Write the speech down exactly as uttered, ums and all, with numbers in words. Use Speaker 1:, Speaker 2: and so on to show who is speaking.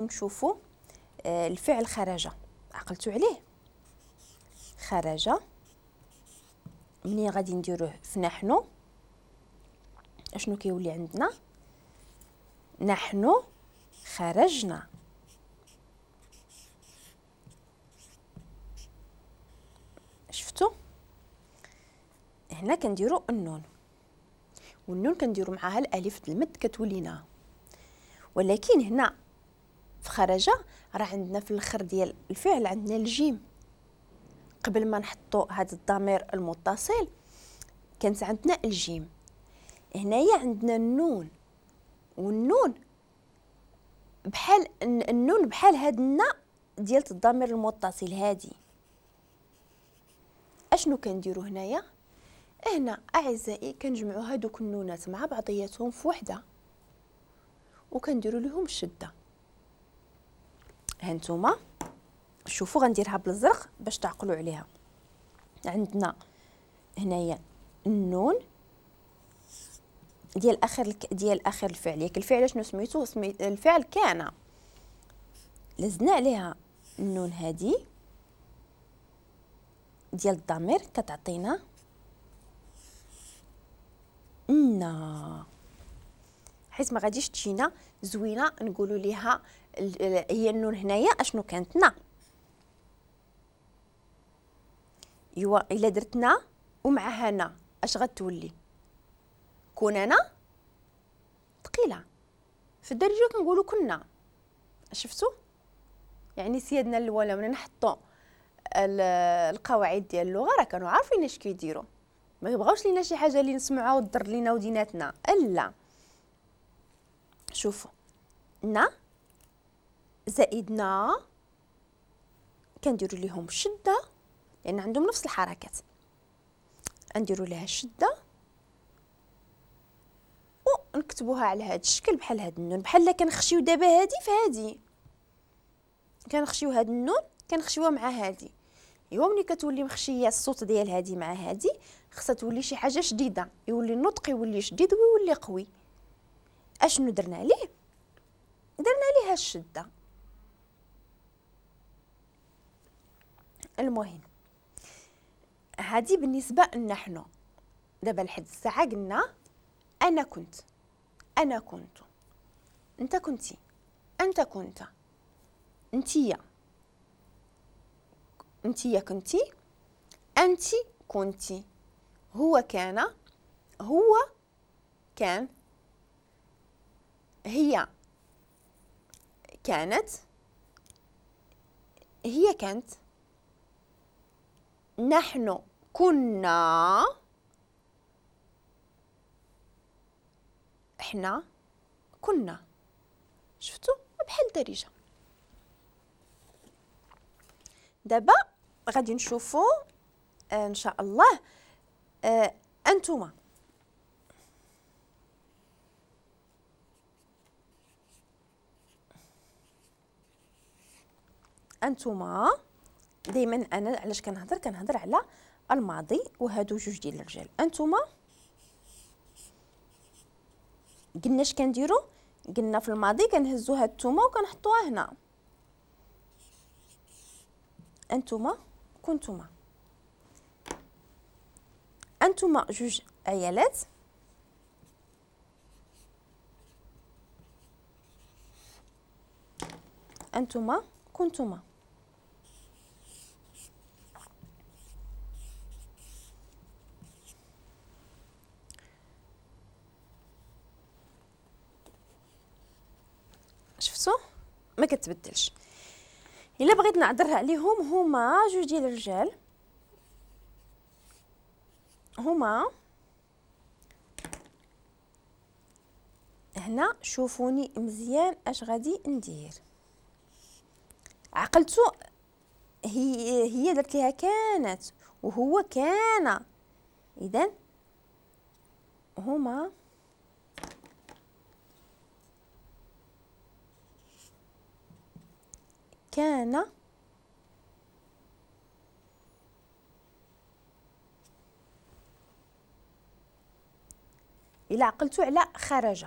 Speaker 1: نشوفوا الفعل خرج، عقلتوا عليه؟ خرج منين غادي نديروه في نحن، اشنو كيولي عندنا؟ نحن خرجنا. شفتوا؟ هنا كنديروا النون، والنون كنديروا معاها الالف المد كتولينا. ولكن هنا في خرج راه عندنا في الاخر ديال الفعل عندنا الجيم. قبل ما نحطوا هذا الضمير المتصل كانت عندنا الجيم، هنايا عندنا النون، والنون بحال النون بحال هاد النا ديال الضمير المتصل هادي. اشنو كنديروا هنايا؟ هنا اعزائي كنجمعوا هادوك النونات مع بعضياتهم في وحده وكنديروا لهم الشدة. هانتوما شوفوا غنديرها بالازرق باش تعقلوا عليها. عندنا هنايا النون ديال اخر ديال اخر الفعل، ياك الفعل شنو سميتو؟ سمي الفعل كان، لزنا عليها النون هادي ديال الضمير كتعطينا نا، حيت ما غاديش تجينا زوينة نقولوا ليها هي النون هنايا اشنو كانت نا. ايوا الا درتنا ومعها نا اش غتولي؟ كون انا ثقيلة. في الدارجة كنقولوا كنا. شفتوا؟ يعني سيادنا الاولى ملي نحطوا القواعد ديال اللغة راه كانوا عارفين اش كيديروا، ما يبغاوش لينا شي حاجة اللي نسمعوها وتضر لينا وديناتنا. لا، شوفوا نا زائد نا كنديروا ليهم شده لان عندهم نفس الحركات، نديروا لها الشدة ونكتبوها على هذا الشكل بحال هاد النون، بحال كنخشيو دابا هادي في هادي، كنخشيو هاد النون كنخشيوها مع هادي. ايوا ملي كتولي مخشيه الصوت ديال هادي مع هادي خصها تولي شي حاجة شديدة، يولي النطق يولي شديد ويولي قوي. اشنو درنا عليه؟ درنا ليها الشدة. المهم هادي بالنسبة لنحن. دابا لحد الساعة قلنا انا كنت، انا كنت، انت كنتي، انت كنت، انتيا، انتيا كنتي، انت كنتي، هو كان، هو كان، هي كانت، هي كانت، نحن كنا، احنا كنا. شفتوا بحال الدارجة. دابا غادي نشوفوا ان شاء الله آه انتما. انتما دائما انا علاش كنهضر؟ كنهضر على الماضي وهادو جوج ديال الرجال. انتما قلنا اش كنديروا؟ قلنا في الماضي كنهزو هاد التومه وكنحطوها هنا. انتما كنتما، انتما جوج عيالات، انتما كنتما. شفتوا ما كتبدلش. الا بغيت نعذرها عليهم هما جوج ديال الرجال، هما هنا شوفوني مزيان اش غادي ندير. عقلتو هي هي درت ليها كانت وهو كان، اذا هما كان إلا عقلتو على خرج.